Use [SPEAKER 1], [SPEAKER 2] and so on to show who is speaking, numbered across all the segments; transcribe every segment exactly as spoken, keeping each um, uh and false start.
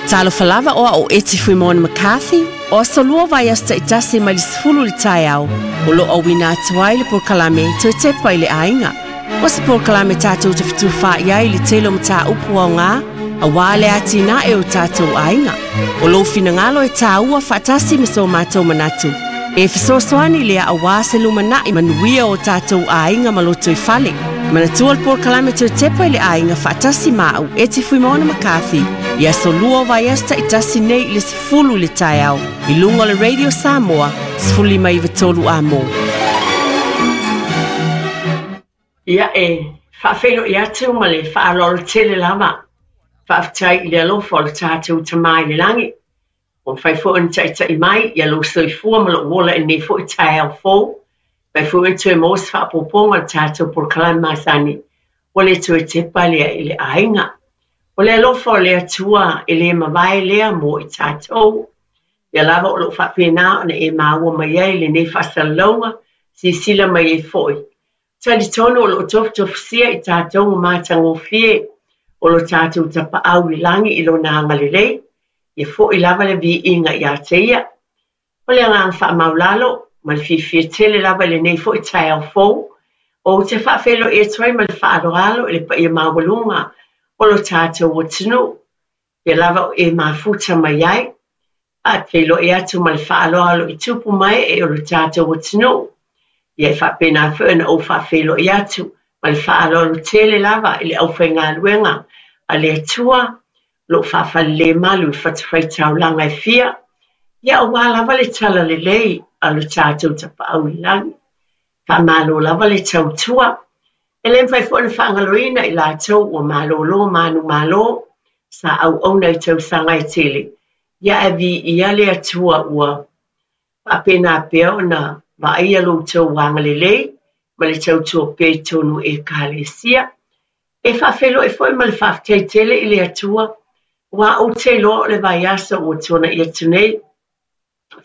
[SPEAKER 1] Talofa lava o au Eti Fuimaono McCarthy, o aso lua vaiaso taitasi mai le sefulu i le taeao, o loo auina atu ai le polokalame Toe Tepa i le Aiga. O se polokalame tatou te fetufaai ai i le tele o mataupu aoga, auā le atinae o tatou aiga. O lou finagalo e tāua faatasi ma so matou manatu. E fesoasoani lea auā se lumanai manuia o tatou aiga ma lotoifale. Manatua le polokalame Toe Tepa i le Aiga faatasi ma au Eti Fuimaono McCarthy i aso lua o vaiaso taitasi nei i le sefulu i le taeao i luga o le Radio Samoa sefulu lima iva tolu Amo. Ia e faafeiloai atu ma le faaaloalo tele lava. Faafetai i le alofa o le tatou Tamā i le lagi. Ua mafai foi ona taitai mai ia lou soifua ma lou ola i lenei foi taeao fou. Mafai foi ona toe maua se faaopoopoga o le tatou polokalame masani ua le toe tepa lea i le aiga. O le alofa o le Atua e le mavae lea mo i tatou. Ia lava o loo faapena ona e maua mai ai lenei faasalalauga, silasila mai ai foi. Talitonu o loo tofutofusia i tatou ma matagofie o lo tatou Tapaau i lagi i lona agalelei. Ia foi lava le viiga ia te ia. O le agaga faamaualalo ma le fiafia tele lava i lenei foi taeao fou, ou te faafeiloai atu ai ma le faaaloalo i le paia maualuga o lo tatou atunuu. Ia lava o e mafuta mai ai. Faafeiloai atu ma le faaaloalo i tupu ma ee o lo tatou atunuu. Ia e faapena foi ona ou faafeiloai atu ma le faaaloalo tele lava i le aufaigaluega a le Atua o loo faafalelemalu i fatafaitaulaga e fia. Ia auā lava le talalelei a lo tatou Tapaau i le lagi. Faamalo lava le tautua. E le mafai foi ona faagaloina i latou ua malolo manumalo sa auauna i tausaga e tele. Ia ae viia le Atua ua faapena pea ona vaaia lo outou agalelei ma le tautua pea i totonu o Ekalesia. E faafeiloai foi ma le faafetai tele i le Atua, aua ou te iloa o le vaiaso ua tuanai atu nei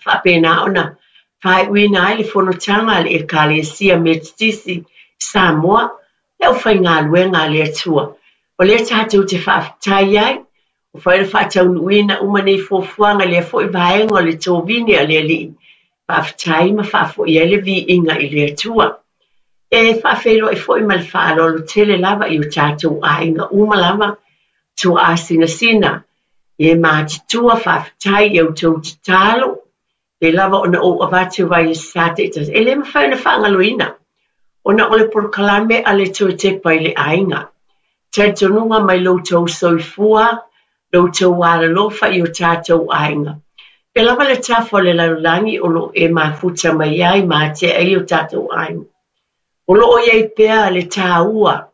[SPEAKER 1] faapena ona faaiuina ai le fonotaga a le Ekalesia Metotisi i Samoa, le aufaigaluega a le Atua. O lea tatou te faafetai ai, ua mafai ona faataunuuina uma nei fuafuaga i lea foi vaega o le tovini a le Alii. Faafetai ma faafoi ai le viiga i le Atua. E faafeiloai foi ma le faaaloalo tele lava i o tatou aiga uma lava, tuaasinasina, e matutua faafetai i outou tatalo, e lava ona ou avatu vaiaso taitasi. E le mafai ona faagaloina, ona o le polokalame a le Toe Tepa i le Aiga. Talitonuga mai lo outou soifua, lo outou alolofa i o tatou aiga. E lava le tafa o le lalolagi o loo e mafuta mai ai ma atea ai o tatou aiga. O loo iai pea le tāua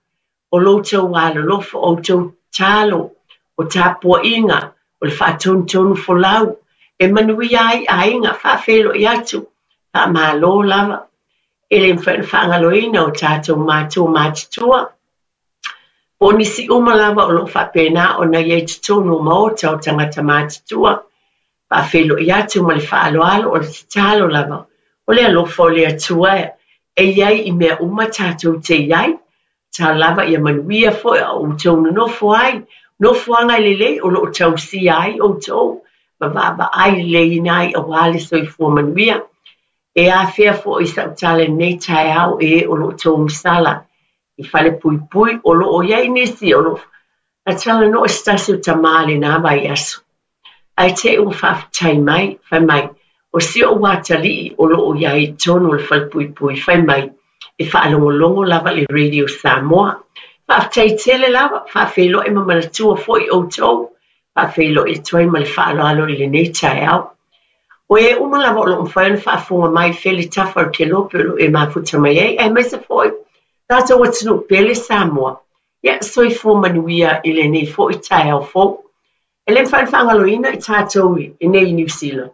[SPEAKER 1] o lo outou alolofa, o outou tatalo, o tapuaiga, o le faatonutonu folau, e manuia ai aiga. Faafeiloai atu, faamalo lava. E le mafai ona faagaloina o tatou matua matutua, po o nisi uma lava o loo faapena ona iai totonu o maota o tagata matutua. Faafeiloai atu ma le faaaloalo, o le tatalo lava, o le alofa o le Atua e iai i mea uma tatou te iai. Tatalo lava ia manuia foi a outou nonofo ai, nofoaga lelei o loo tausia ai outou, ma vaavaai leleiina ai auā le soifua manuia. E afea foi sau tala i lenei taeao e o loo togisala i falepuipui, o loo iai nisi o loo na talanoa se tasi o tamā i lena vaiaso. Ae te i ua faafetai mai, fai mai, o si ou atalii o loo iai i totonu o le falepuipui, fai mai, e faalogologo lava i le Radio Samoa. Faafetai tele lava, faafeiloai ma manatua foi outou, faafeiloai atu ai ma le faaaloalo i lenei taeao. O e uma lava o loo mafai ona faafofoga mai i fea le tafa o le kelope o loo e mafuta mai ai, aemaise foi tatou atunuu pele Samoa. Ia soifua manuia i lenei foi taeao fou. E le mafai ona faagaloina i tatou i nei i Niu Sila.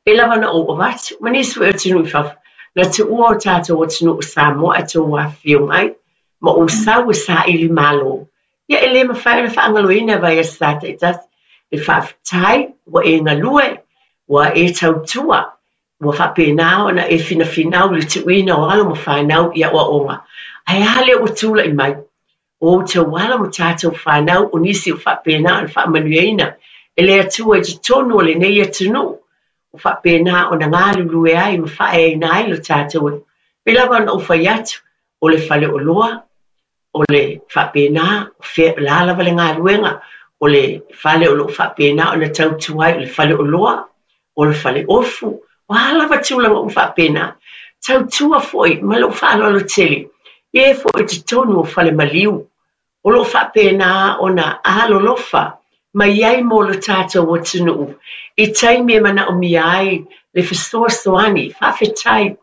[SPEAKER 1] E lava ona ou avatu, ma nisi foi o atunuu i fafo, na tuua o tatou atunuu o Samoa ae tou afifio mai, ma ou sau e saili malo. Ia e le mafai ona faagaloina vaiaso sa taitasi. Le faafetai ua e galue, ua e tautua, ua faapena ona e finafinau i le tuuina o alo ma fanau i aoaoga. Ae a lea ua tulai mai, o outou alo ma tatou fanau o nisi o faapena ona faamanuiaina e le Atua i totonu o lenei atunuu ua faapena ona galulue ai ma faaeaina ai lo tatou. Pei lava ona ou fai atu, o le faleoloa, o le faapena, la lava le galuega, o le fale o loo faapena ona tautua ai, o le faleoloa, o le faleofu, o a lava tulaga uma faapena. Tautua foi ma lou faaaloalo tele, e foi i totonu o fale maliu, o loo faapena ona alolofa mai ai mo le tatou atunuu i taimi e manaomia ai le fesoasoani. Faafetai.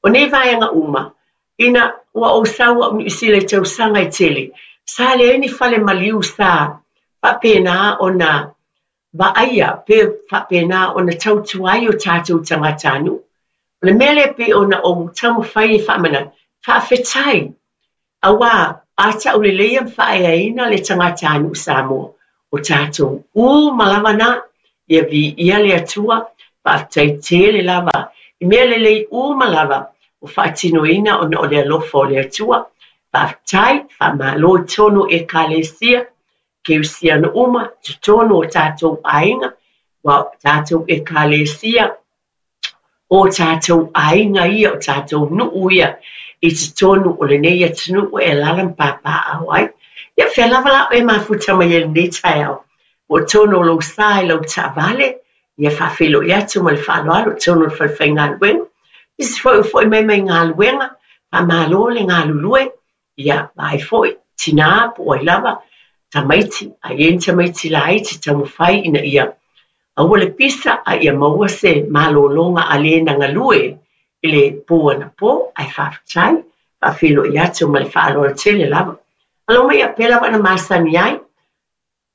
[SPEAKER 1] O nei vaega uma, ina ua ou sau au Niu Sila i tausaga e tele, sa leai ni fale maliu sa faapena ona vaaia pe faapena ona tautua ai o tatou tagatanuu. O le mea lea pei ona ou taumafai e faamanatu, faafetai, auā a tauleleia ma faaeaina le tagatanuu Samoa, o tatou uma lava na, ia viia le Atua. Faafetai tele lava i mea lelei uma lava o faatinoina ona o le alofa o le Atua. Faafetai, faamalo i totonu o Ekalesia Kerisiano uma, totonu o tatou aiga, ua o tatou Ekalesia, o tatou aiga ia, o tatou nuu ia i totonu o lenei atunuu e alaala ma papaaao ai. Ia fea lava la oe mafuta mai ai i lenei taeao, po o totonu o lou sa i lau taavale, ia faafeiloai atu ma le faaaloalo i totonu o le falefaigaluega. Nisi foi o foi mai mai galuega, faamalo le galulue, ia vaai foi, tinā po o ai lava, tamaiti, a i ai ni tamaiti laiti taumafai ina ia aua le pisa, a ia maua se malologa a le na galue i le po anapo, ae faafetai, faafeiloai atu ma le faaaloalo tele lava. Alo mai ia pea lava na masani ai,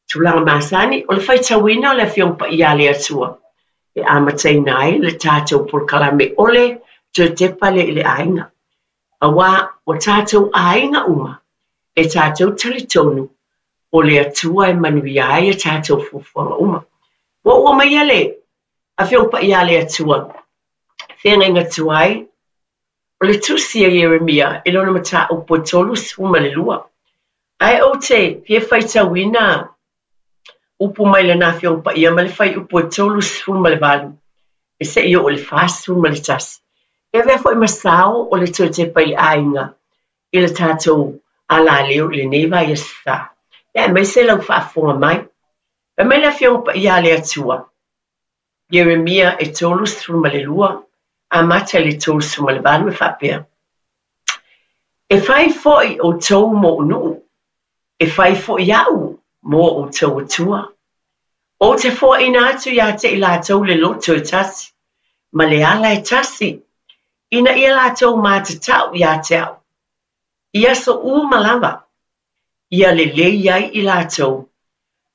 [SPEAKER 1] tulaga masani, o le faitauina o le Afioga Paia a le Atua, e amataina ai le tatou polokalame o le toe tepa lea i le aiga. Auā o tatou aiga uma, e tatou talitonu o le Atua e manuia ai a tatou fuafuaga uma. Ua ou aumaia le Afioga Paia a le Atua, feagaiga tuai, o le tusi a Ieremia i lona mataupu e tolusefulu ma le lua. Ae ou te fia faitauina upu mai lana Afioga Paia ma le fuaiupu e tolusefulu ma le valu, e seia oo i le fasefulu ma le tasi. E avea foi ma sao o le toe tepa i le aiga i le tatou alaleo i lenei vaiaso sa. Ia aemaise lau faafofoga mai. Fai mai le Afioga Paia a le Atua, Ieremia e tolusefulu ma le lua, amata i le tolusefulu ma le valu e faapea. E fai foi outou mo ou nuu, e fai foi au mo outou Atua. Ou te foaina atu ia te i latou le loto e tasi, ma le ala e tasi, ina ia latou matatau ia te au. I aso uma lava, ia lelei ai i latou,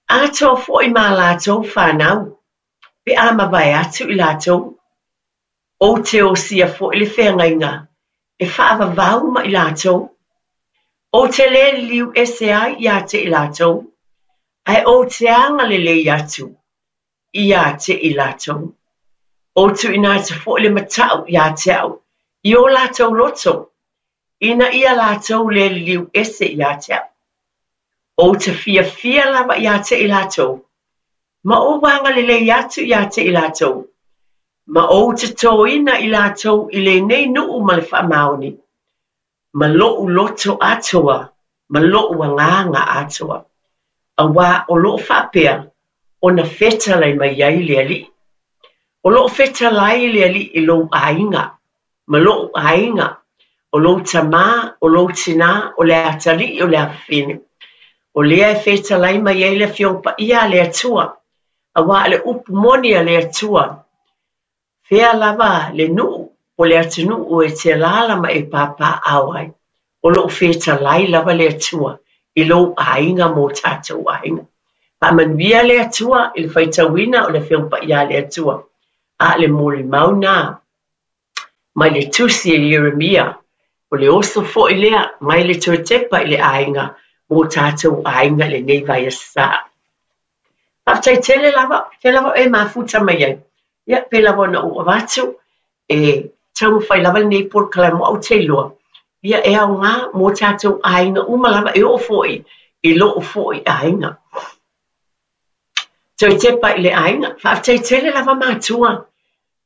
[SPEAKER 1] atoa foi ma latou whanau, pe a mavae atu i latou. Ou te osia foi le feagaiga, e faavavau ma i latou. Ou te le liliu ese ai ia te i latou, ae ou te agalelei atu ia te i latou. Ou tuuina atu foi le matau ia te au i o latou loto, ina ia latou le liliu ese ia te au. Ou te fiafia lava ia te i latou, ma ou agalelei atu ia te i latou, ma ou te toina i latou i lenei nuu ma le faamaoni, ma lou loto atoa, ma lou agaga atoa. Auā o loo faapea ona fetalai mai ai le Alii. O loo fetalai le Alii i lou aiga, ma lou aiga, o lou tamā, o lou tinā, o le atalii, o le afafine. O lea e fetalai mai ai le Afioga Paia a le Atua, auā le upu moni a le Atua. Fea lava le nuu o le atunuu e te alaala ma e papaaao ai. O loo fetalai lava le Atua i lou aiga mo tatou aiga. Faamanuia le Atua i le faitauina o le Afioga Paia a le Atua. A le molimau na mai le tusi e Ieremia, o le oso foi lea mai le toe tepa i le aiga mo tatou aiga i lenei vaiaso sa. Faafetai tele lava, fea lava e mafuta mai ai. Ia pei lava ona ou avatu, e taumafai lava lenei polokalame au te iloa. Ia e aoga mo tatou aiga uma lava e oo foi i lou foi aiga. Toe tepa i le aiga, faafetai tele lava matua.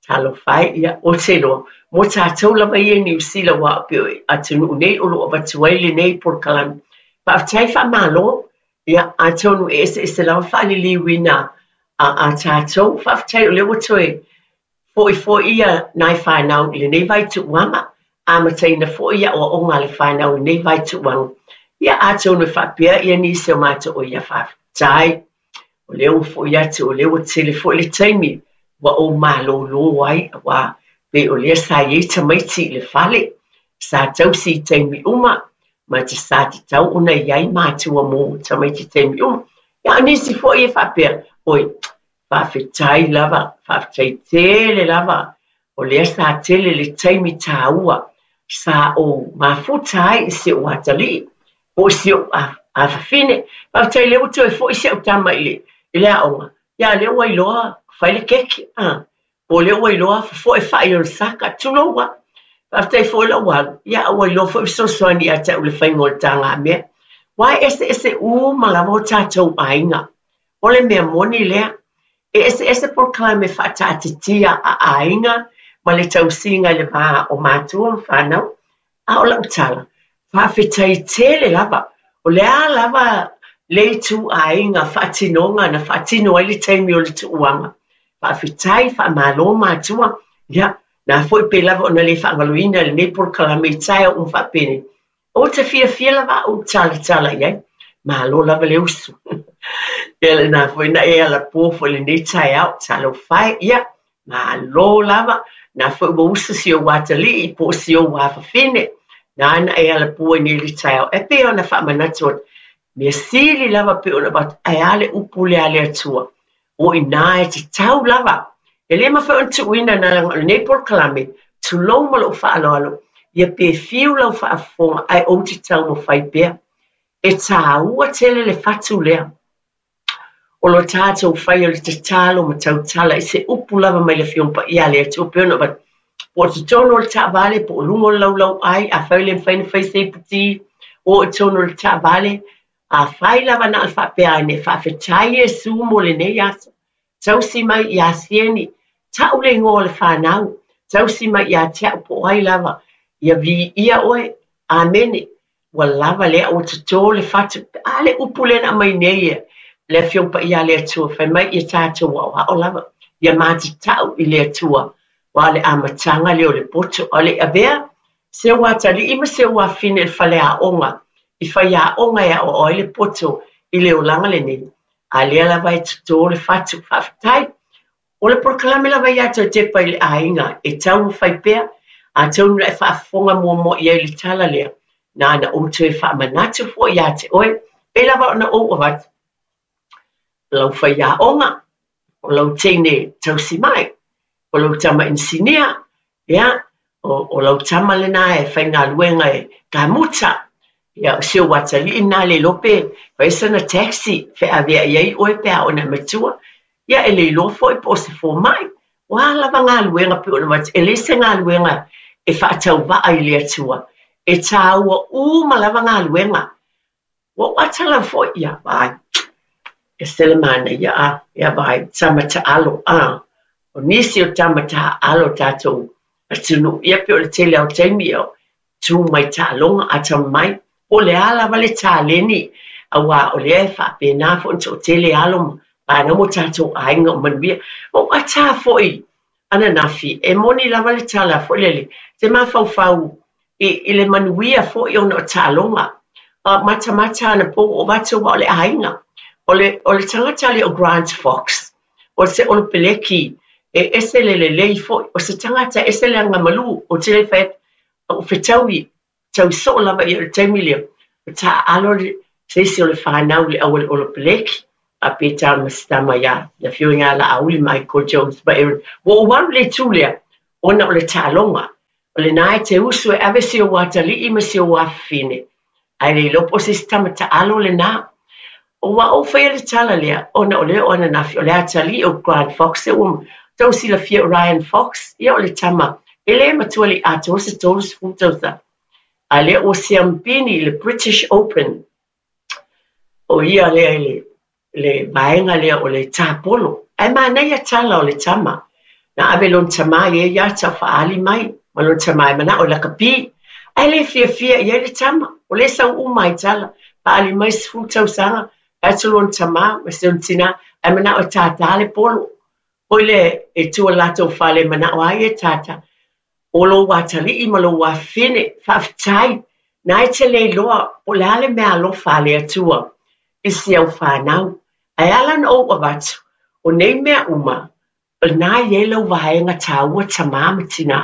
[SPEAKER 1] Talofa e, ia, ou te iloa, mo tatou lava ia i Niu Sila aua e pei o atunuu nei o lo o avatu ai lenei polokalame. Faafetai faamalo, ia, atonu e eseese lava faaliliuina a, a tatou. Faafetai o lea ua toe foi foi ia nai fanau i lenei vaituuaga, amataina foi aoaoga a le fanau i lenei vaituuaga. Ia, atonu e faapea ia nisi o matou, ia faafetai. O lea ua foi atu, o lea ua tele foi le taimi ua ou malōlō ai, aua pei o lea sa i ai tamaiti i le fale, sa tausi i taimi uma, ma te sa tatau ona i ai matua mo tamaiti i taimi uma. Ia, o nisi foi e faapea, oi, faafetai lava, faafetai tele lava, o lea sa tele le taimi tāua, sa ou mafuta ai i si ou atalii, po o si ou afafine. Faafetai lea ua toe foi si au tama i le, i le aoga, ia lea ua iloa fai le keke, a, po o lea ua iloa fofoe fai o le saka, tulou a. Faafetai foi lou alu, ia ua iloa foi fesoasoani ia te au i le faiga o le tagamea. Aua e eseese uma lava o tatou aiga. O le mea moni lea, e eseese polokalame faataatitia a aiga ma le tausiga i le va o matua ma fanau. A o lau tala, faafetai tele lava. O le a lava le ituaiga faatinoga na faatino ai le taimi o le tuuaga. Faafetai, faamalo matua. Ia, na foi pe lava ona le faagaloina lenei polokalame i taeao uma faapenei. Ou te fiafia lava au talatala i ai. Malo lava le usu. Ia lena foi na e alapo foi lenei taeao. Talofa e, ia, malo lava. Na foi ua usu si ou atalii po o si ou afafine. Na na e alapo ai nei le taeao. E pei ona faamanatu atu. Mea sili lava pei ona avatu, ae a le upu lea a le Atua. O i ina e tatau lava. E le mafai ona tuuina na leaga o lenei polokalame, tulou ma lou faaaloalo, ia pe fiu lau faafofoga ae ou te taumafai pea. E tāua tele le fatu lea. O lo tatou faia o le tatalo ma tautala i se upu lava mai le Afioga Paia a le Atua pei ona avatu. Po o totonu o le taavale, po o luga o le laulauai, afai le mafai ona fai se iputi, o i totonu o le taavale, afai lava na o le faapea ane, faafetai Iesu mo lenei aso. Tausi mai ia Sieni, tau le igoa o le fanau, tausi mai ia te au po o ai lava, ia viia oe, amene. Ua lava lea ua totō le fatu. A le upu lea na aumai nei e le Afioga Paia a le Atua, fai mai ia tatou aoao lava, ia matatau i le Atua, aua o le amataga lea o le poto. A o le i avea se ou atalii ma se ou afafine i le faleaoga, i faiaoga e aoao ai le poto i le olaga lenei, a lea lava e totō le fatu. Faafetai. O le polokalame lava ia toe tepa i le aiga e taumafai pea, atonu na e faafofoga muamua i ai i le tala lea, na ona ou toe faamanatu foi ia te oe, pei lava ona ou avatu, o lau faiaoga, o lau teine tausimai, o lau tama inisinia, ia, o, o lau tama lena e faigaluega e kamuta, ia, o si ou atalii lena e le iloa pe fai sana taxi feaveai ai oe pe a oo ina e matua, ia e le iloa foi po o se fomai. O a lava galuega pei ona avatu, e leai se galuega e faatauvaa i le Atua. E tāua uma lava galuega. Ua ou ata lava foi, ia vaai, ese le manaia, a, ia vaai, tama taalo, a, o nisi o tama taaalo tatou atunuu, ia pei o le tele lava o taimi, ia, tu mai taaloga, atamamai, po o le a lava le taleni, aua o lea e faapena foi ona toatele alo ma fanau ma o tatou aiga o manuia. Ua ou ata foi ananafi, e moni lava le tala foi lele, te mafaufau i, i le manuia foi ona o taaloga. Matamata anapo ua ou avatu aua o le aiga. O le, o le tagata lea o Grant Fox, o se olopeleki e ese le lelei foi, o se tagata e ese le agamalu, ou te le fai atu, ua fetaui, tau soo lava ia o le taimi lea, o taaalo le, se isi o le fanau i le au a le olopeleki, a pe tama se tama ia le afioga ia Laauli, Michael Jones ma Aaron. Ua ou alu i le itu lea, ona o le taaloga. O lena e te usu e ave si ou atalii ma si ou afafine, ae le iloa po o se isi tama taalo lena. Ua ou faia le tala lea, ona o lea o ananafi, o le atalii o Grant Fox, e ua tou silafia o Ryan Fox, ia o le tama, e le matua le i atoa se tolu sefulu tausaga. A lea ua siamupini i le British Open, o ia lea i le Le vaega lea o le tapolo. Ae manaia tala o le tama. Na ave lona tamā i ai ata o faaali mai ma lona tamā e manao e lakapi. Ae le fiafia i ai le tama. O lea e sau uma ai tala. Faaali mai sefulu tausaga, fai atu lona tamā ma si ona tinā ae manao e tātā le polo. Foi lea e tua i le latou fale e manao lava ia e tātā. O lou atalii ma lou afafine, faafetai, na e te le iloa po o le a le meaalofa a le Atua i si au fanau. Ae ala ona ou avatu, o nei mea uma, o lena e i ai lau vaega taua tamā ma tinā.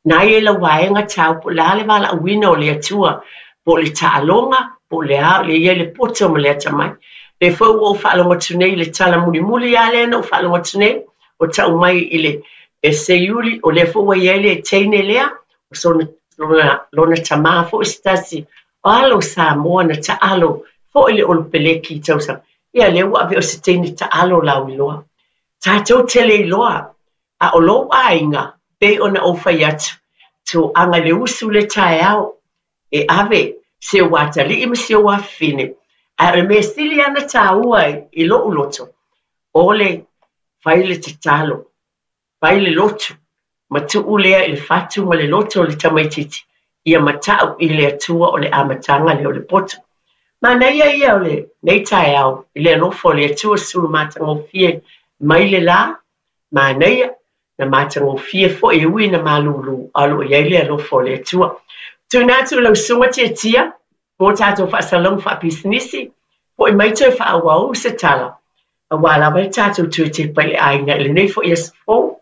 [SPEAKER 1] Na e i ai lau vaega taua po o le a le valaauina o le Atua, po o le taaloga, po o le a, o lea e i ai le poto ma le atamai. O lea foi ua ou faalogo atu nei i le tala mulimuli lava lea na ou faalogo atu nei, o tau mai i le seiuli, o lea foi ua i ai le teine lea, o sona, lona, lona tamā foi se tasi o alo o Samoa na taalo foi le Olopeleki i tausaga. Ia lea ua ave o se teine taalo lauiloa. Tatou te le iloa, a o lou aiga, pei ona ou fai atu, toaga i le usu le taeao, e ave si ou atalii ma si ou afafine. Ae o le mea sili lava ona taua i lou loto, o le fai le tatalo, fai le lotu, ma tuu lea i le fatu ma le loto o le tamaitiiti, ia matau i le Atua o le amataga lea o le poto. Manaia ia o lenei taeao i le alofa o le Atua sulu matagofie mai le la, manaia na matagofie foi e ui na malūlū, a o lo o i ai le alofa o le Atua. Tuuina atu i lau susuga Tiatia mo tatou faasalalauga faapisinisi, foi mai toe faaauau se tala, aua lava le tatou toe tepa i le aiga i lenei foi aso fou.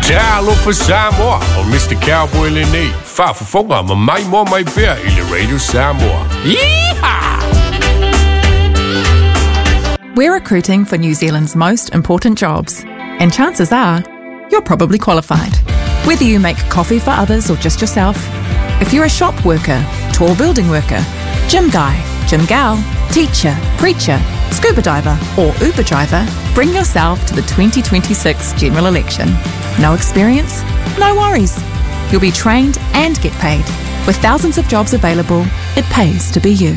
[SPEAKER 2] Talofa Samoa, o Mister Cowboy lenei, faafofoga ma maimoa mai pea i le Radio Samoa. Yeehaw!
[SPEAKER 3] We're recruiting for New Zealand's most important jobs, and chances are you're probably qualified. Whether you make coffee for others or just yourself, if you're a shop worker, tall building worker, gym guy, gym gal, teacher, preacher, scuba diver, or Uber driver, bring yourself to the twenty twenty-six general election. No experience? No worries. You'll be trained and get paid. With thousands of jobs available, it pays to be you.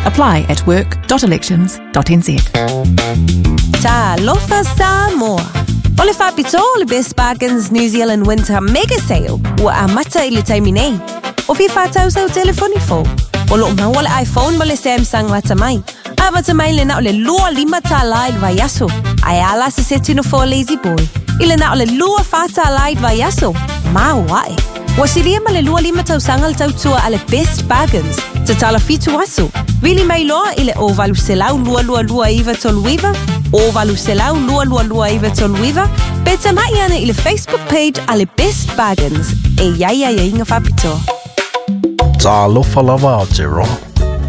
[SPEAKER 3] Apply at work dot elections dot n z.
[SPEAKER 4] Talofa Samoa. O le faapitoa o le Best Bargains New Zealand Winter Mega Sale ua amata i le taimi nei. O fia whātausau telefoni fō. O loo maua le iPhone ma le Samsung lata mai. Amata mai le nao le lua lima tālā i le vaiaso. Ae ala se setino fō Lazy Boy. I le nao le lua whā tālā i le vaiaso. Mau ae. Ua silia ma le lua lima tausaga le tautua a le Best Bargains. Tatala fitu aso. Vili mai loa i le o valu selau lua lua lua iwa tolu iwa, o valu selau lua lua lua iwa tolu iwa, pe tamai ana i le Facebook page a le Best Bargains. E iai ai inga whapitoa.
[SPEAKER 5] Talofa lava Aotearoa.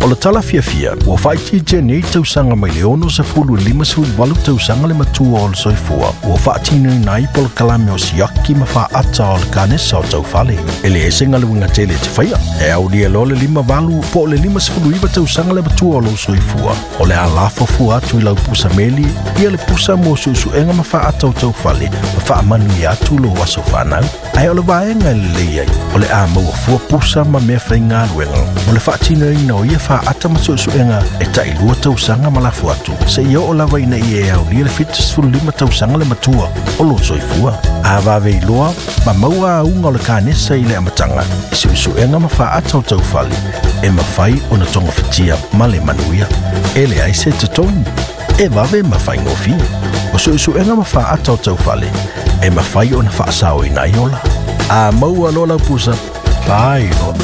[SPEAKER 5] O le tala fiafia, ua whaititia nei tausaga mai le ono sefulu e lima sefulu valu tausaga le matua o le soifua, ua faatinoina ai polokalame o siaki ma faata o le kanesa o taufale. E le ese galuega tele e te faia, e aulia loa le lima valu po o le lima sefulu iwa tausaga le matua o lou soifua. O le a lafo atu i lau pusa meli, ia le pusa mo suesuega ma faata o taufale, ma faamanuia atu lou aso fanau. Ae o le vaega e lelei ai, o le a maua fua pusa ma mea faigaluega, mo le faatinoina o ia faata ma suesuega e tailua tausaga ma lafo atu, seia oo lava ina ia e aulia le fitu sefulu lima tausaga le matua o lou soifua. A vave iloa ma maua auga o le kanesa i le amataga i suesuega ma faata o taufale, e mafai ona togafitia ma le manuia. E leai se totogi, e vave ma faigofie. O suesuega ma faata o taufale, e mafai ona faasaoina ai ola. A maua loa lau pusa, fai loa.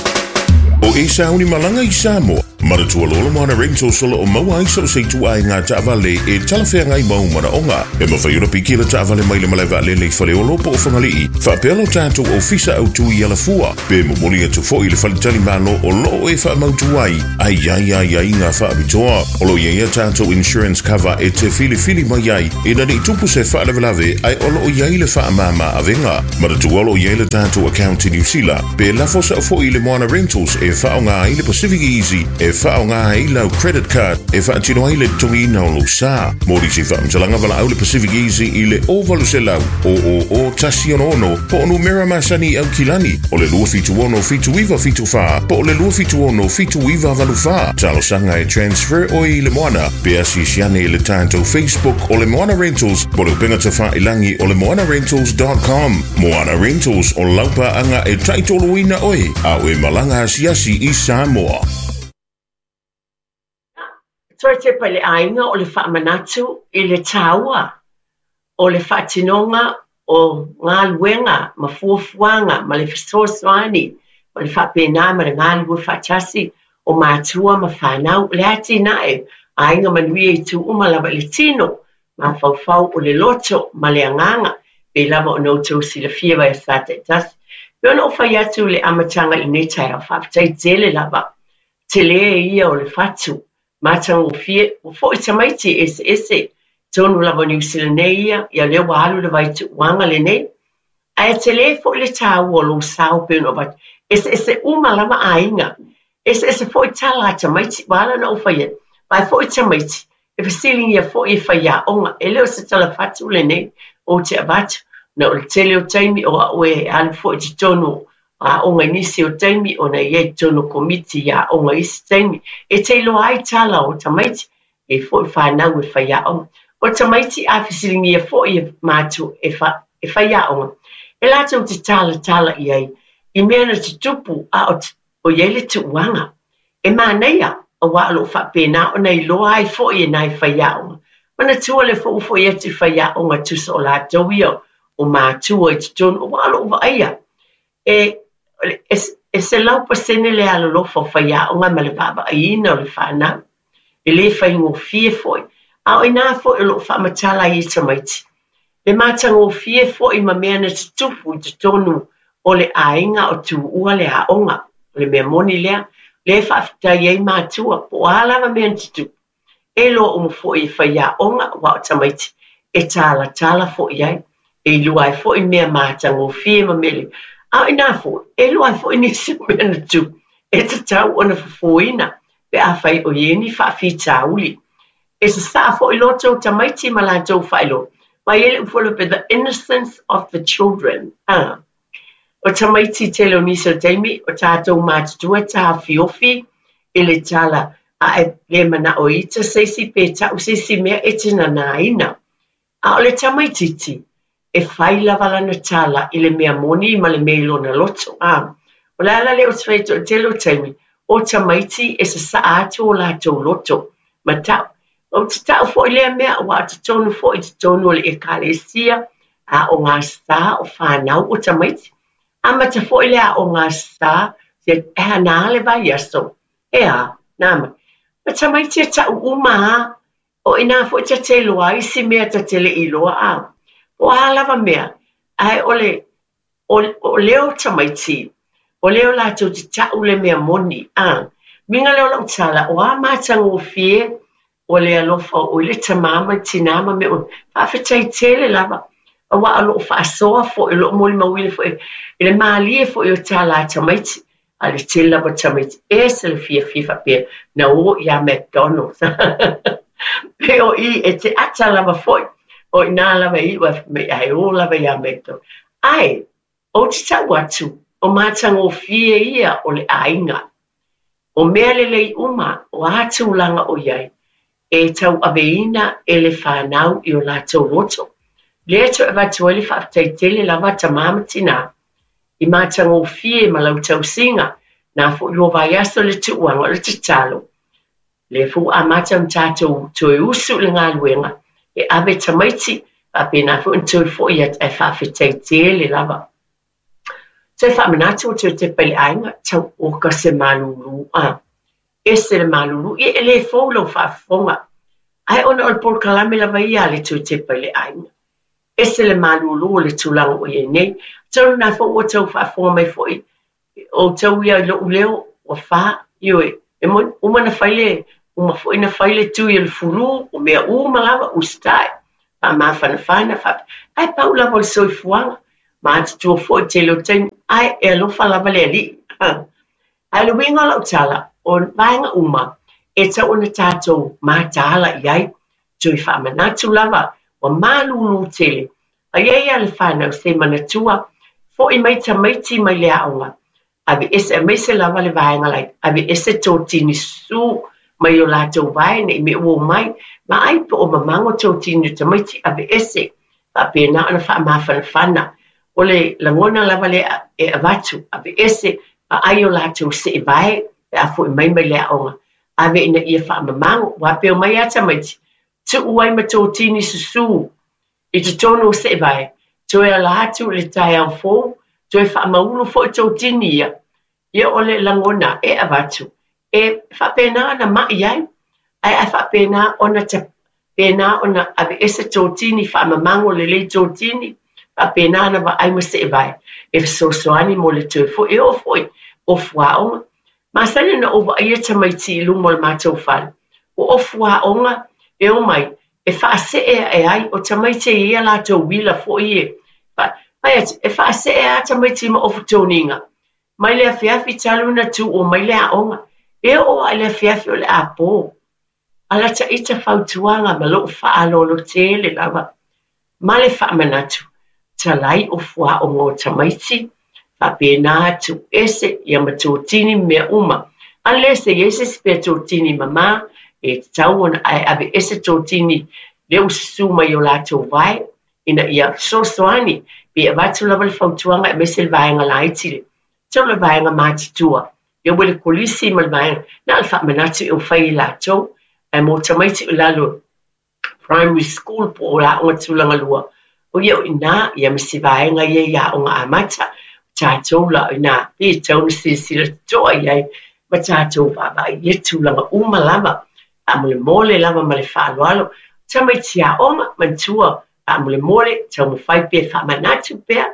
[SPEAKER 6] O e sauni malanga i Samoa, manatua lola moana rentals o loo maua ai so se itu ai ngā taavale e talawhea ngai mau manaonga. E mawhai ora piki la taavale mai le malae vaalele i Faleolo po o Whangalii. Whaapea lo tātou ofisa au tui ala fua. Pe momoli atu foi le whalitali malo o loo e whaamautu ai. Ai ai ai ai ngā whaapitoa. O lo ia ia tātou insurance cover e te whili whili mai ai. E nani tupu se whaalawelawe ai o loo iai le whaamama avenga. Manatua lo iai le tātou account i New Zealand. Pe lafo sa foi le moana rentals e whaonga ai le Pacific Easy e faaaogā ai lau credit card e faatino ai le totogiina o lou sa. Mo nisi faamatalaga valaau le Pacific Easy i le o valu selau o o o tasi ono ono po o numera masani i Aukilani o le lua fitu ono fitu iva fitu fa po o le lua fitu ono fitu iva valu fa. Talosaga e transfer oe i le Moana pe asiasi ane i le tatou Facebook o le Moana Rentals po o le upega tafailagi o le moana rentals dot com. Moana Rentals o lau paaga e taitoluina oe a o e malaga asiasi i Samoa.
[SPEAKER 1] Toe tepa i le aiga o le faamanatu i le taua o le faatinoga o galuega ma fuafuaga ma le fesoasoani ma le faapena ma le galulue faatasi o matua ma fanau le atinae aiga manuia i tu uma lava i le tino mafaufau o le loto ma le agaga pe lava ona outou silafia vai sa taitasi. Pe ona ou fai atu le amataga i lenei taeao faafetai tele lava tele ia o le fatu matagofie ua fo'i tamaiti e eseese tonu lava o Niu Sila nei ia ia lea ua alu le vaituuaga lenei ae tele fo'i le taua o lou sao pe ona avatu eseese uma lava aiga eseese fo'i tala a tamaiti ua ala ona ou fai atu vae fo'i tamaiti e fesiligia fo'i e faiaoga e le o se tala fatu lenei ou te avatu na o le tele o taimi o a'u e alu fo'i totonu aoga i nisi o taimi ona i ai totonu o komiti i aoga i isi taimi e te iloa ai tala o tamaiti e fo'i fanau e faiaoga. O tamaiti a fesiligia fo'i e matua e, fa, e faiaoga e latou te talatala i ai i mea na tutupu a o, o i ai le tuuaga e manaia auā o loo faapena ona iloa ai fo'i e nai faiaoga. Manatua le fo'u fo'i atu i faiaoga tusa o latou ia o matua i totonu auā o loo vaaia e e, e selau pasene le alolofa o faiaoga ma le vaavaaiina o le fanau e lē faigofie fo'i a o inā fo'i o loo faamatala ai e tamaiti le matagofie fo'i ma mea na tutupu i totonu o le aiga o tuua le aoga o le mea moni lea lea faafetai ai matua po o a lava mea na tutupu e iloa uma fo'i e faiaoga ua o tamaiti e talatala fo'i ai e iloa ai fo'i mea matagofie ma mea lelei a o inā fo'i e iloa ai fo'i nisi o mea na tupu e tatau ona fofoina pe afai o i ai ni faafitauli e sasaa fo'i loto o tamaiti ma latou faailoa ma i ai le upu faapea the innocence of the children. Ah. O tamaiti tele o nisi o taimi o tatou matutua e taofiofi i le tala a e le manao ita se isi pe ta'u se isi mea e te nanaina. A o le tamaititi e fai lava lana tala i le mea moni ma le mea i lona loto. A o le ala lea ou te fai atu o le tele o taimi o tamaiti e sasaa atu o latou loto ma ta'u. Ou te ta'u fo'i lea mea ua o totonu fo'i totonu o le ekalesia a o gasā o fanau o tamaiti. Amata fo'i le aoga sa se e hana le vaiaso. E a, nā mai. Ma tamaiti e ta'u uma a o inā fo'i ta te iloa ai isi mea ta te le'i iloa a. Po o a lava mea, ae o le, o, o lea o tamaiti, o lea o latou te ta'u le mea moni a. Uiga lea o lau tala, o a matagofie o le alofa o i le tamā ma le tinā ma mea uma. Faafetai tele lava auā o loo faasoa fo'i o loo molimauina fo'i i le malie fo'i o tala a tamaiti a le tele lava o tamaiti ese le fiafia faapea na o iā McDonald's. Pe o i e te ata lava fo'i o inā lava e iu ai fai mai ae o lava iā McDonald's. Ae ou te ta'u atu o matagofie ia o le aiga o mea lelei uma o a tulaga o i ai e tauaveina e le fanau i o latou loto. Lea toe avatu ai le faafetai tele lava a tamā ma tinā i matagofie ma lau tausiga na fo'i lua vaiaso le tuuaga o le tatalo. Lea foi ua amata ona tatou toe usu i le galuega e ave tamaiti faapena foi ona toe fo'i atu ae faafetai tele lava. Toe faamanatu ua toe tepa i le aiga tau oka se malūlū a. Ese le malūlū ia e lē fou lau faafofoga ae ona o le polokalame lava ia a le toe tepa i le aiga. Ese le malūlū o le tulaga o i ai nei. Tau lena foi ua tau faafofoga mai fo'i o tau ia i lo'u leo ua fā ioe e moni uma na fai le uma fo'i na fai le tui o le fulu o mea uma lava usitai faamafanafana faape ae pau lava o le soifuaga matutua fo'i tele o taimi ae e alofa lava le alii. Ae le uiga o lau tala O vaega uma e tatau ona tatou mataala i ai, toe faamanatu lava ua malūlū tele. A i ai lava le fanau se manatua, fo'i mai tamaiti mai le aoga, aveese aemaise lava le vaega laiti, aveese totini susū mai o latou vae ne i mea ua omai, vaai po o mamago totini o tamaiti aveese, faapena ona faamafanafana. O le lagona lava lea e avatu, aveese, vaai o latou seevae pe a fo'i mai mai le aoga, ave ina ia faamamago, aua pe omai lava tamaiti, tuu ai ma totini susū i totonu o seevae, toe ala atu i le taeao fou, toe faamaulu foi totini ia. Ia o le lagona e avatu, e faapena ona mai ai, ae a faapena ona pena ona aveese totini, faamamago lelei totini, faapena ona vaai ma seevae, e fesoasoani mo le toe fo'i, e oo foi o fuaoga. Masani ona ou vaaia tamaiti i luma o le matou fale. Ua ofu aoga e omai, e faasee ae ai, o tamaiti e ia latou uila foi e. Fai atu, e faasee lava tamaiti ma ofu toniga. Mai le afiafi talu ona tuua mai le aoga. E oo lava i le afiafi o le apo. A lata ita fautuaga ma lou faaaloalo tele lava. Ma le faamanatu, talai ofu aoga o tamaiti, faapena tuuese ia ma totini ma mea uma. Unless e i ai se isi pea totini mamā, e tatau ona ae aveese totini lea ua susū mai o latou vae, ina ia fesoasoani, pe avatu lava le fautuaga aemaise le vaega laiti le. Tau le vaega matutua. Ia ua le kolisi ma le vaega, na o le faamanatu e ua fai e latou, ae mo tamaiti o lalo primary school po o aoga tulaga lua, o ia o i ina, ia ma si vaega ia i aoga amata, tatou la o ina, pe tatau ona silasila totoa i ai, ma tatou vaavaai i ia tulaga uma lava, faamolemole lava ma le faaaloalo. Tamaiti aoga, manatua, faamolemole, taumafai pea faamanatu pea,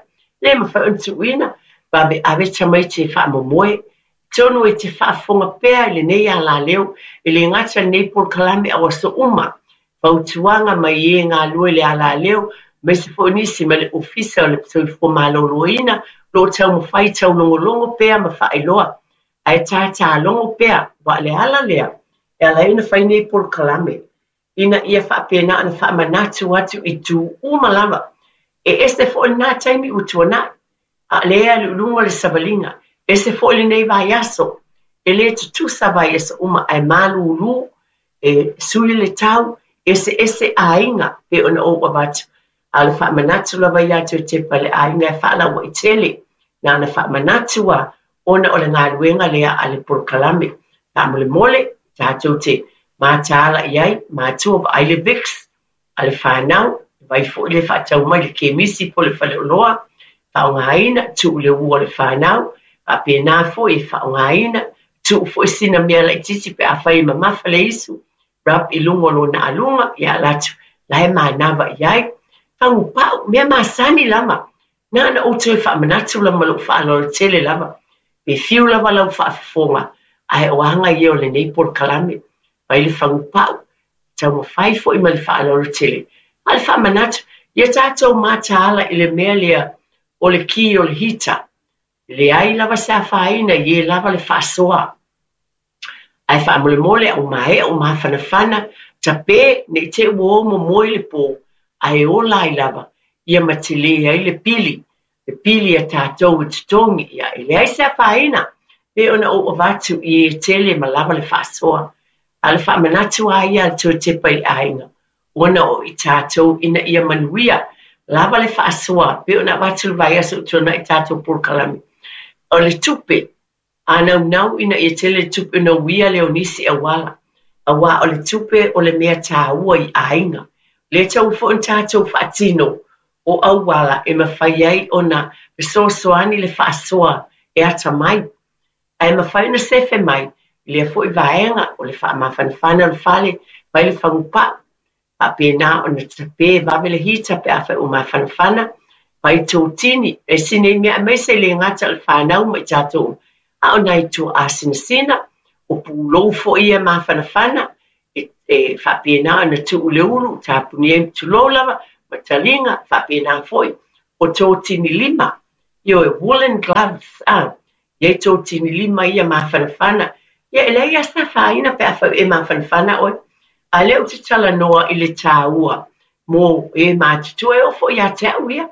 [SPEAKER 1] le mafai ona tuuina, vaveave tamaiti e faamomoe, tonu e te faafofoga pea i lenei alaleo, e le gata lenei polokalame a o aso uma, fautuaga mai e galue i le alaleo, aemaise foi nisi ma le Ofisa o le Soifua Maloloina, lo o taumafai taulogologo pea ma faailoa, ae tatalogo pea, aua o le ala lea, e ala ai ona fai nei polokalame, ina ia faapena ona faamanatu atu i itu uma lava. E ese foi lena taimi ua tuanai, a o lea e alu i luga o le savaliga, ese foi lenei vaiaso, e le tutusa vaiaso uma, ae malūlū, e sui le tau, eseese aiga pe ona ou avatu. A o le faamanatu lava ia te tepa i le aiga e faalauaitele, na ona faamanatu lava ona o le galuega lea a le polokalame. Faamolemole, tatou te mataala i ai, matua vaai le Vicks a le fanau, vai foi le faatau mai le kemisi po o le faleoloa, faaaogaina, tuu i le ua o le fanau, faapena foi e faaaogaina, tuu foi sina mea laitiiti pe afai e mamafa le isu, rub i luga o lona aluga, ia alu atu, la e manava i ai. Fagupau, mea masani lava, na ona ou toe faamanatu lava ma lou faaaloalo tele lava. Pe fiu lava lau faafofoga, ae o aga ia o lenei polokalame. Fai le fagupau, taumafai foi ma le faaaloalo tele. A o le faamanatu, ia tatou mataala i le mea lea o le ki o le hita. Leai lava se afaina i e lava le faasoa. Ae faamolemole au maea o mafanafana, tape ne i te i ua o momoe le po, ae ola ai lava, ia ma tele ai le pili, le pili a tatou i totogi, ia e leai se afaina, pe ona ou avatu i e tele ma lava le faasoa. A o le faamanatu lava ia a le toe tepa i le aiga, ona o i tatou ina ia manuia, lava le faasoa, pe ona avatu le vaiaso ua tuanai i tatou polokalame. O le tupe, a naunau ina ia tele le tupe ona uia lea o nisi auala, aua o le tupe o le mea taua i aiga. Le tatau foi ona tatou faatino o auala e mafai ai ona fesoasoani le faasoa e atamai. Ae mafai ona sefe mai i lea foi vaega o le faamafanafana o le fale, fai le fagupau, faapena ona tape vave le hita pe afai ua mafanafana, fai totini, e isi nei mea aemaise le gata o le fanau ma i tatou uma, a o nai tuaasinasina, o pulou foi ia mafanafana, e, e faapena ona tuu i le ulu, tapuni ai tulou lava, ma taliga, faapena foi, o totini lima, ioe, woolen gloves, a, i ai totini lima ia mafanafana, Ia e leai lava se afaina pe afai e mafanafana oe. A o lea ou te talanoa i le taua mo e matutua e oo foi ia te au ia.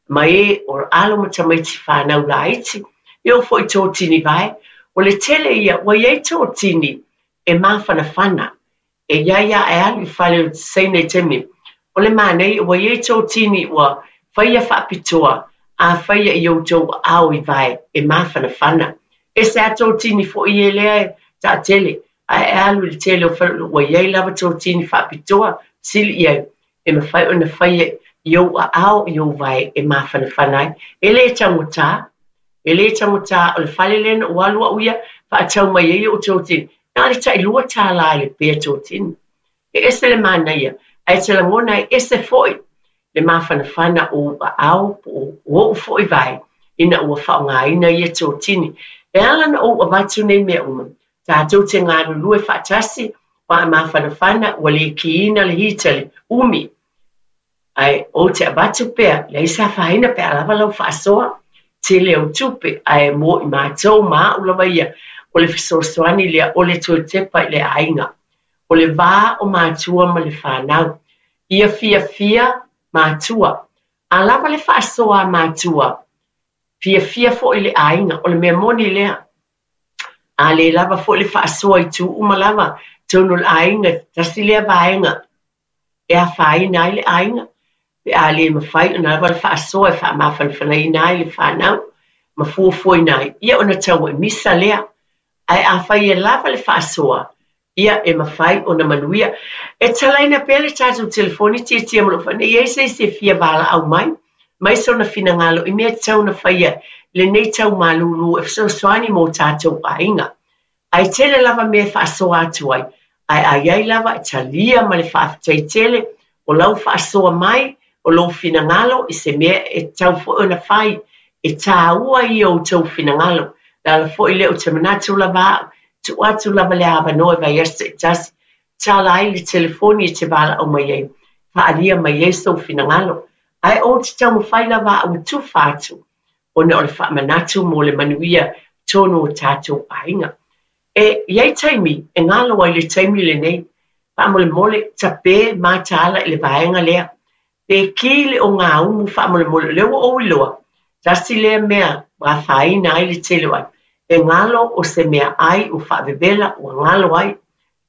[SPEAKER 1] Ma e o alo ma tamaiti fanau laiti. E oo foi i totini vae. O le tele ia, ua iai totini e mafanafana. E iai a e alu i fale o Saina i taimi. O le manaia ua iai totini ua faia faapitoa a faia i outou aao i vae e mafanafana. E se a totini foi e lea e taatele. Ae e alu i le tele o fale ua iai lava totini faapitoa sili i ai. E mafai ona faia i ou aao i ou vae e mafanafana ai. E le taugata. E le taugata o le fale lea na ou alu au ia faatau mai ai ou totini. Na le tailua tālā i le pea totini. E ese le manaia. Ae te lagona e ese foi le mafanafana o ou aao po o ou foi vae ina ua faaaogaina ia totini. E ala na ou avatu nei mea uma. Tatou te galulue faatasi wa mafanafana ua le kiina le hita le umi. Ae ou te avatu pea, leai se afaina pe a lava lau faasoa. Tele o tupe ae mo i matou ma au lava ia. O le fesoasoani lea o le toe tepa i le aiga. O le vā o matua ma le whanau. Ia fiafia matua. A lava le faasoa a matua. Fiafia foi le aiga. O le mea moni lea. A le lava foi le faasoa i tu uma lava. Tonu le aiga. Tasi lea vaega. E afaina ai le aiga. Pe a le mafai ona lava le faasoa e faamafanafanaina ai le whanau. Ma fuafuaina ai. Ia ona tau e misa lea. Ae afai e lava le faasoa. Ia e mafai ona manuia. E talaina pea le tatou telefoni tiatia ma lou fane. Ia se isi e fia valaau mai. Mai sona finagalo i mea tatau ona faia lenei tau malūlū e fesoasoani mo tatou aiga. Ae tele lava mea e faasoa atu ai. Ae a iai lava e talia ma le faafetai tele o lau faasoa mai o lou finagalo i se mea e tatau foi ona fai. E tāua ia o outou finagalo. Le ala foi lea ou te manatu lava au. Tuu atu lava le avanoa e vaiaso taitasi. Tala ai le telefoni e te valaau mai ai. Faaalia mai ai sou finagalo. Ae ou te taumafai lava au e tufa atu. Ona o le faamanatu mo le manuia tonu o tatou aiga. E iai taimi, e galo ai le taimi lenei. Faamolemole, tape mataala i le vaega lea. Pe ki le ogaumu faamolemole. O lea ua ou iloa. Tasi lea mea ua afaina ai le tele o ai. E galo o se mea ai ua faavevela ua galo ai.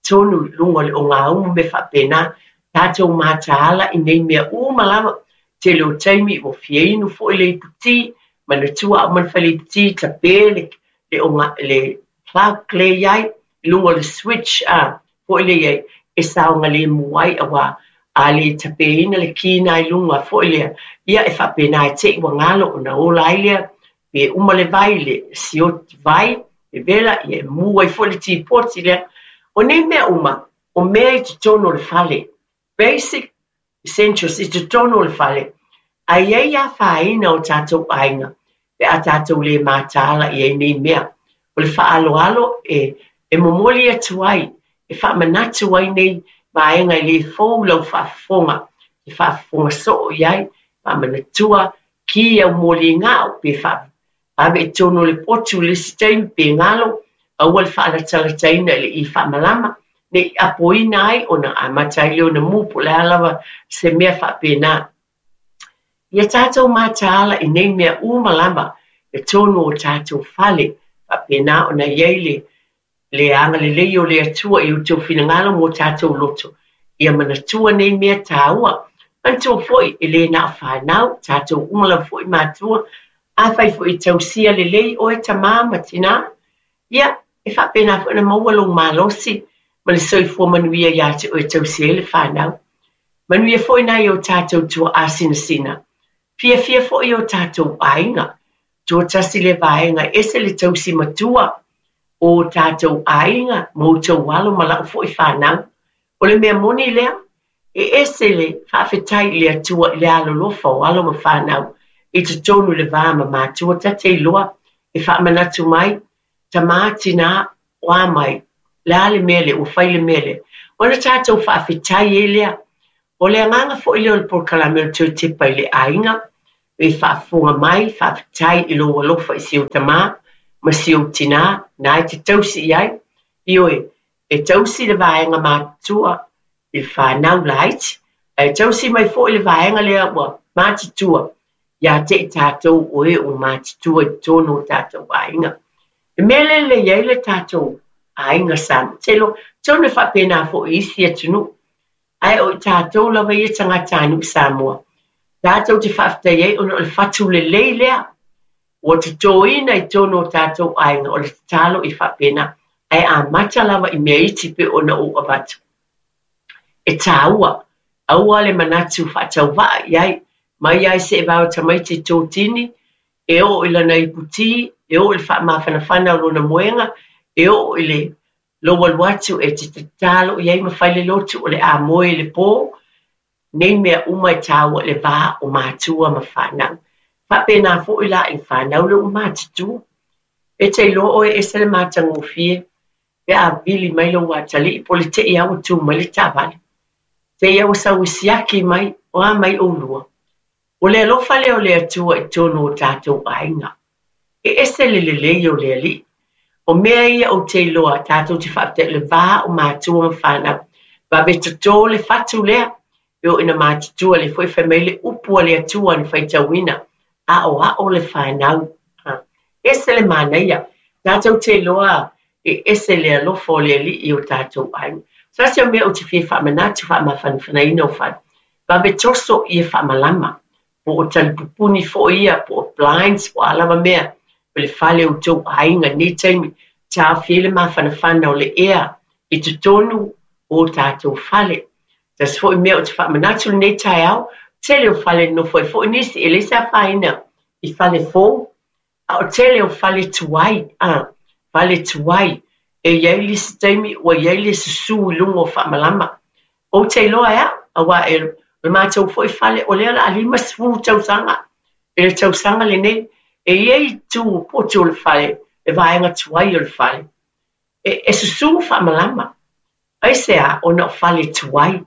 [SPEAKER 1] Tonu i luga o le ogaumu me faapena. Tatou mataala i nei mea uma lava. Tele o taimi ua fia inu foi le iputi. Manatua au ma le fale iputi tape le, le, onga, le plug le iai. I luga o le switch a foi le iai. E saogalemu ai aua a le tapeina le kina i luga foi lea. Ia e faapena e te i ua galo ona ola ai lea. Pe uma le vai le sioti vai, e vela, ia e mu ai foi le tipoti lea. O nei mea uma, o mea i totonu o le fale. Basic essentials i totonu o le fale. Ae iai afaina o tatou aiga. Pe a tatou le mataala i ai nei mea. O le faaaloalo e, e momoli atu ai, e faamanatu ai nei vaega e le fou lau faafofoga. E faafofoga soo i ai, faamanatua ki au moligao pe ave i tonu o le potu le isi taimi pe galo aua le faalatalataina i le i faamalama. Ne i apoina ai ona amata ai lea ona mu po o le a lava se mea faapena. Ia tatou mataala i nei mea uma lava e tonu o tatou fale. Faapena ona iai le le agalelei o le Atua i outou finagalo mo tatou loto. Ia manatua nei mea tāua. Manatua foi e le na o whanau, tatou uma lava foi matua. Afai foi i tausia lelei oe tamā ma tinā. Ia, e faapena foi ona maua lou malosi ma le soifua manuia ia te oe tausia ai le whanau. Manuia foi nai o tatou tuaasinasina. Fiafia foi o tatou aiga. Tua tasi le vaega ese le tausi matua o tatou aiga ma outou alo ma lau foi whanau. O le mea moni lea, e ese le faafetai i le Atua i le alolofa o alo ma whanau. I totonu le vā ma matua ta te iloa e faamanatu mai, tamā tinā o a mai, le a le mea lea, ua fai le mea lea. Ona tatou faafetai ai lea. O le agaga foi lea o le polokalame o le toe tepa i le aiga, e faafofoga mai, faafetai i lou alofa i si ou tamā ma si ou tinā, na e te tausi i ai. Ioe, e tausi le vaega matutua i le fanau laiti, ae tausi mai fo'i le vaega lea ua matutua iā te i tatou o e ua matutua i totonu o tatou aiga. E mea lea e lelei ai le tatou aiga Samoa. Telo, tonu e faapena fo'i i isi atunuu, ae o i tatou lava ia tagatanuu Samoa, tatou te faafetai ai ona o le fatu lelei lea ua totoina i totonu o tatou aiga. O le tatalo i faapena, ae amata lava i mea iti pe ona ou avatu. E tāua, aua le manatu faatauvaa i ai, mai ai se e vao tamaiti tōtini, e oo i lana iputī, e oo i le faamafanafana o lona moega, e oo i le lou alu atu e te tatalo i ai ma fai le lotu o le a moe i le pō, nei mea uma e tāua i le va o matua ma fanau. Faapena fo'i la i le fanau le ua matutua. E te iloa oe e ese le matagofie, pe a vili mai lou atalii po o le te'i lava ua tu mai le taavale. Te i ua sau e siaki mai, o a mai oulua. O le alofa lea o le Atua i totonu o tatou aiga. E ese le lelei o le Alii. O mea ia ou te iloa tatou te faafetai i le va o matua ma fanau. Vave totō le fatu lea, e oo ina matutua le foi fai mai le upu a le Atua na faitauina, aoao le fanau. Ese le manaia, tatou te iloa e ese le alofa o le Alii i o tatou aiga. Se tasi o mea ou te fia faamanatu faamafanafanaina o fale, vave toso ia faamalama, po o talipupuni fo'i ia, po o blinds, po o a lava mea, o le fale o outou aiga i lenei taimi, taofi ai le mafanafana o le ea i totonu o tatou fale. Tasi fo'i mea ou te faamanatu lenei taeao, tele o fale nonofo ai fo'i nisi, e leai se afaina i fale fou, a o tele o fale tuai, a, fale tuai, e i ai le isi taimi ua i ai le susū i luga o faamalama. Ou te iloa e au, auā e o le matou fo'i fale, o lea o le a limasefulu tausaga i le tausaga lenei, e i ai itu potu o le fale, le vaega tuai o le fale, e, e susū faamalama. Aisea? Ona o fale tuai,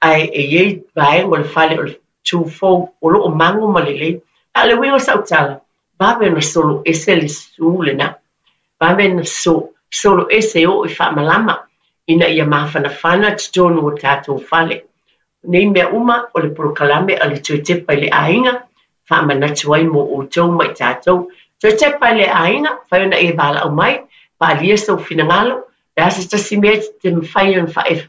[SPEAKER 1] ae e i ai vaega o le fale o le tu fou o loo mago ma lelei. A o le uiga o sau tala, vave ona solo ese le susū lenā, vave ona so, solo ese e oo i faamalama ina ia mafanafana totonu o tatou fale. Nei mea uma o le polokalame a le Toe Tepa i le Aiga, faamanatu ai mo outou ma i tatou. Toe tepa i le aiga, fai ona e valaau mai, faaalia sou finagalo, le a se tasi mea te mafai ona faae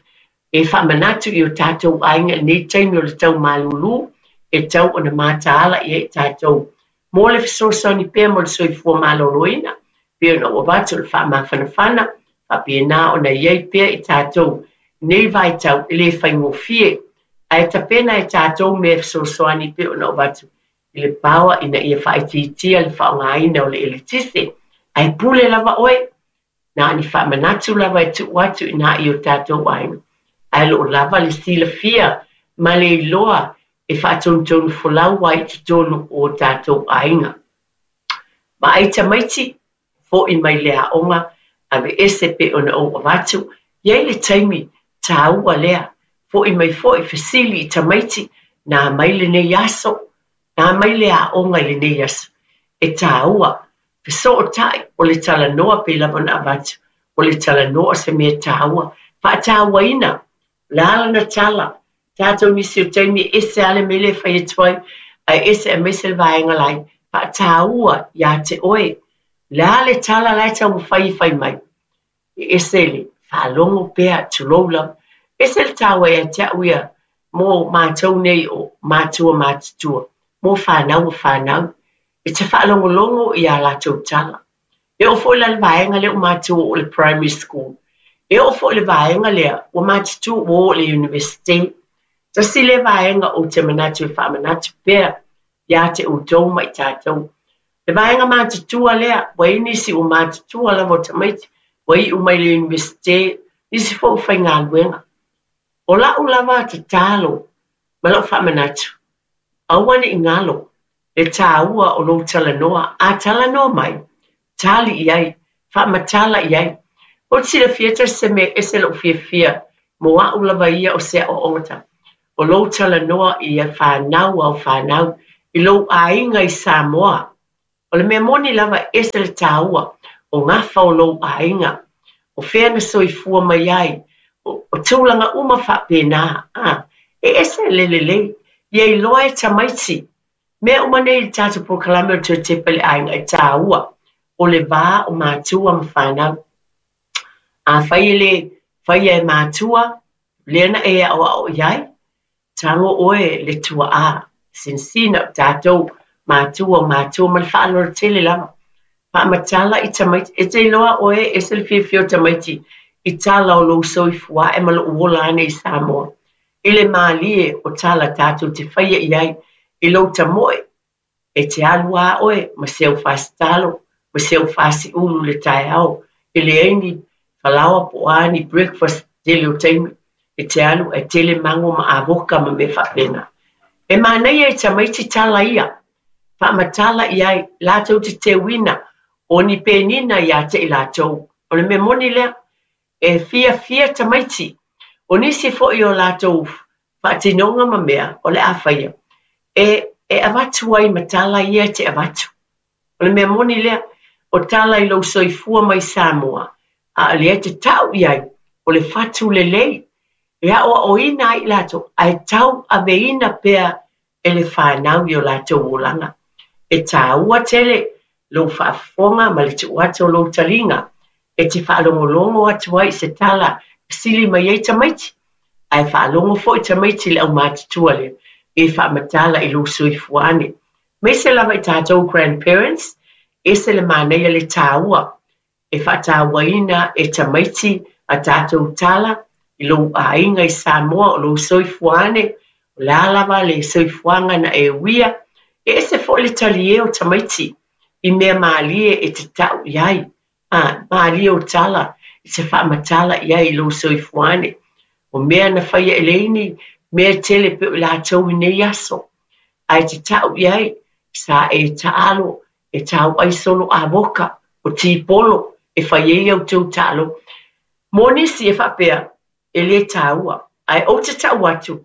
[SPEAKER 1] e faamanatu i o tatou aiga i lenei taimi o le tau malūlū, e tau ona mataala i ai tatou. Mo le fesoasoani pea mo le soifua maloloina, pei ona ou avatu o le faamafanafana, faapena ona i ai pea i tatou nei vaitau e le faigofie, ae tapena e tatou mea e fesoasoani pei ona ou avatu i le power ina ia faaitiitia le faaaogaina o le eletise. Ae pule lava oe, na o ni faamanatu lava e tuu atu i ina i o tatou aiga. Ae o loo lava le silafia ma le iloa e faatonutonu folau ai i totonu o tatou aiga. Vaai tamaiti, fo'i mai le aoga, aveese pei ona ou avatu, i ai le taimi tāua lea, fo'i mai fo'i fesili i tamaiti, na mai lenei aso, na mai le aoga i lenei aso. E tāua, fesootai o le talanoa pei lava ona avatu, o le talanoa o se mea tāua, faatauaina, o le a lana tala, tatou nisi o taimi e ese lava le mea lea e fai atu ai, ae ese aemaise le vaega lai, faataua iā te oe. O le a le tala la e taumafai e fai mai, e ese le faalogo pea, tulou lava. Ese le taua ia te au ia mo matou nei o matua matutua, mo fanau o fanau, e te faalogologo i a latou tala. E oo foi la i le vaega lea ua matou oo i le primary school, e oo foi i le vaega lea ua matutua ua oo i le university. Tasi lea vaega ou te manatu e faamanatu pea iā te outou ma i tatou. Le vaega matutua lea, ua i ai nisi ua matutua lava o tamaiti, ua iu mai le university, nisi foi ua faigaluega. O lau lava tatalo ma lau faamanatu, aua ne i galo le tāua o lou talanoa. A talanoa mai, tali i ai, faamatala i ai. Ou te silafia tasi se mea e ese lou fiafia mo au lava ia o se aoaoga, o lou talanoa i fanau ao fanau, i lou aiga i Samoa. O le mea moni lava e ese le tāua o gafa o lou aiga, o O fea na soifua mai ai, o, o tulaga uma faapena, a, e ese le lelei, ia iloa e tamaiti. Mea uma nei i le tatou polokalame o le toe tepa i le aiga e tāua, o le vā o matua ma fanau. Afai e le faia e matua, lea na e aʻoaʻo i ai, tago oe le tuaā, sinasina o tatou matua o matua ma le faaaloalo tele lava. Faamatala i tamaiti, e te iloa oe e ese le fiafia o tamaiti i tala o lou soifua ae ma lou ola ane i Samoa. I le mālie o tala tatou te faia i ai i lou tamoe, e te alu lava oe ma se au fasitalo, ma se au fasiulu i le taeao, e leai ni falaoa po o a ni breakfast tele o taimi, e te alu ae tele mago ma avoka ma mea faapena. E manaia i tamaiti tala ia, faamatala i ai, latou te teuina o ni penina iā te i latou. O le mea moni lea, e fiafia tamaiti. O nisi foi o latou faatinoga ma mea o le a faia, e, e avatu ai ma tala ia e te avatu. O le mea moni lea, o tala i lou soifua mai Samoa, a o lea e te tau i ai, o le fatu lelei, e aʻoaʻoina ai i latou, ae tauaveina pea e le fanau i o latou olaga. E tāua tele lou faafofoga ma le tuu atu o lou taliga, e te faalogologo atu ai i se tala e sili mai ai tamaiti, ae faalogo foi tamaiti i le aumatutua lea, e faamatala i lou soifua ane. Aemaise lava i tatou grandparents, ese le manaia le tāua, e faatauaina e tamaiti a tatou tala i lou aiga i Samoa o lou soifua ane, o le a lava le soifuaga na e uia, e ese foi le talie o tamaiti i mea mālie e te tau i ai, a, mālie o tala i se faamatala i ai i lou soifua ane. O mea na faia e leini, mea tele pe o i latou i nei aso. Ae te tau i ai, sa e taalo, e tau ai solo avoka, o tipolo, e fai ai au tau taalo. Mo nisi e faapea, e le tāua. Ae ou te tau atu,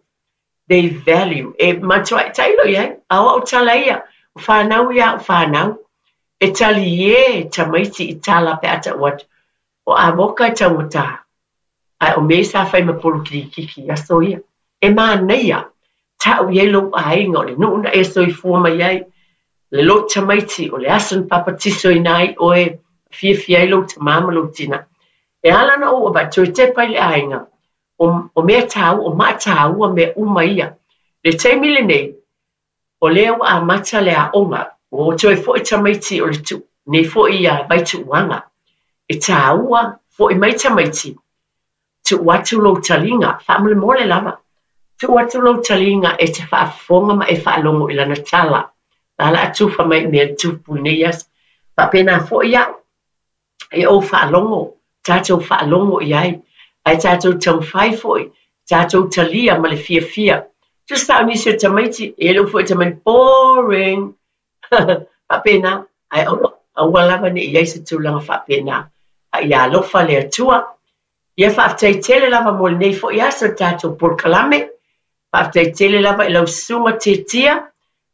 [SPEAKER 1] they value. E matuai tailo i ai, a o au tala ia, o whanau ia o whanau. E tali e tamaiti i tala pe a tau atu. O avoka e taugata. Ae o me sa fai ma polo kirikiki aso ia. E manaia, tau i ai lou aiga o le nuu na e soifua mai ai. Le lou tamaiti o le aso na papatiso ina ai oe, fiafia ai lou tamā ma lou tina. E ala na ou avatu e tepa i le aiga. O, o mea tāua, o maatāua mea uma ia. Le taimi lenei, o lea ua amata le aoga, ua toe foi tamaiti o le tu, nei foi ia vaituuaga. E tāua, foi mai tamaiti, tuu atu lou taliga, faamolemole lava. Tuu atu lou taliga e te faafofoga ma e faalogo i lana tala. La la atufa mai mea tupu i nei aso. Faapena foi au, e ou faalogo, tatou faalogo i ai. Ae tatou taumafai foi, tatou talia ma le fiafia. Tusa o nisi o tamaiti, e lou foi tamaiti, boring. Faapena, ae aua, aua lava ne i ai se tulaga faapena. A ia alofa le Atua. Ia faafetai tele lava mo lenei foi aso le tatou polokalame. Faafetai tele lava i lau susuga Tietia.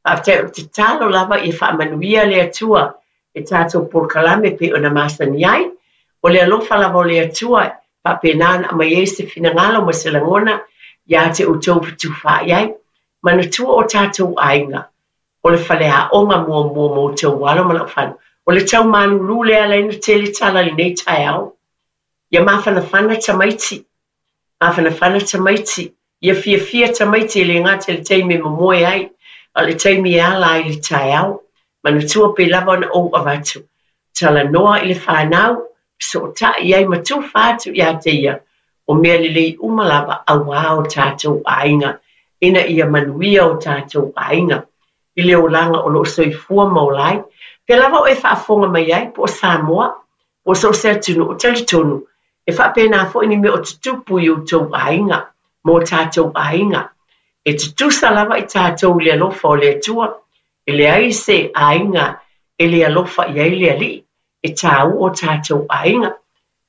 [SPEAKER 1] Faafetai o le tatalo lava ia faamanuia le Atua e tatou polokalame pei ona masani ai. O le alofa lava o le Atua, faapena ona aumai ai se finagalo ma se lagona iā te outou fetufaai ai. Manatua o tatou aiga, o le faleaoga muamua mo outou alo ma lau fanau. O le tau malulu lea ala ai ona tele tala i lenei taeao. Ia mafanafana tamaiti, mafanafana tamaiti, ia fiafia tamaiti e le gata i le taimi e momoe ai, a o le taimi e ala ai i le taeao. Manatua pei lava ona ou avatu. Talanoa i le fanau, fesootai ai ma tufa atu iā te ia, o mea lelei uma lava auā o tatou aiga, ina ia manuia o tatou aiga i le olaga o loo soifua ma ola ai. Pea lava o e faafofoga mai ai, po o Samoa, po o so o se atunuu, talitonu, e faapena foi ni mea o tutupu i outou aiga, ma o tatou aiga. E tutusa lava i tatou i le alofa o le Atua, e leai se aiga e le alofa i ai le Alii, e tāua o tatou aiga.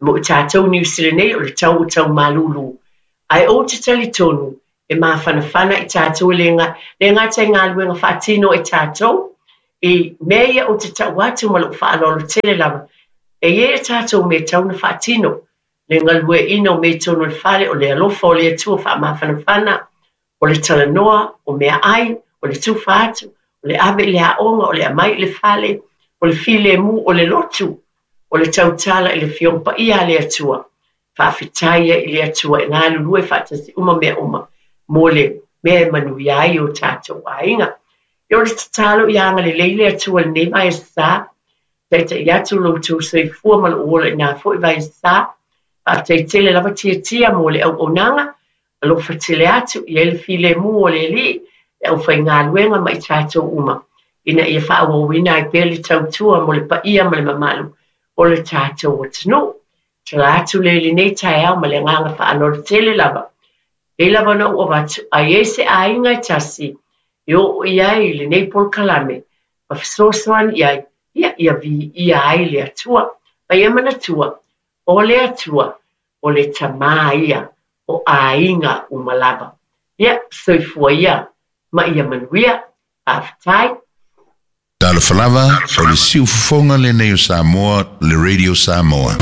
[SPEAKER 1] Mo i tatou Niu Sila nei o le tau o tau malulu. Ae ou te talitonu, e mafanafana i tatou e le le gata i galuega faatino e tatou, i mea ia ou te tau atu ma lou faaaloalo tele lava, e i ai a tatou mea e tatau ona faatino. Le galueaiina o mea i totonu o le fale, o le alofa o le Atua faamafanafana, o le talanoa, o meaai, o le tufa atu, o le ave i le aoga, o le aumai i le fale, o le filemu, o le lotu, o le tautala i le Afioga Paia a le Atua. Faafetai ai i le Atua e galulue faatasi uma mea uma mo le mea e manuia ai o tatou aiga. Ia o le tatalo ia agalelei le Atua i lenei vaiaso sa, taita'i atu lo outou soifua ma lou ola i na foi vaiaso sa. Faafetai tele lava tiatia mo le auaunaga, alofa tele atu, i ai le filemu o le Alii, le aufaigaluega ma i tatou uma, ina ia faaauauina ai pea le tautua mo le paia ma le mamalu o le tatou atunuu. Tala atu le lenei taeao ma le agaga faaaloalo tele lava. E lava ona ou avatu, ai e se aiga e tasi, e oo i ai lenei polokalame, ma fesoasoani i ai, ia ia viia ai le Atua. Ma ia manatua, o le Atua, o le Tamā ia, o aiga uma lava. Ia, soifua ia, ma ia manuia. Faafetai.
[SPEAKER 6] Talofa lava, o le siufofoga lenei o Samoa, le Radio Samoa.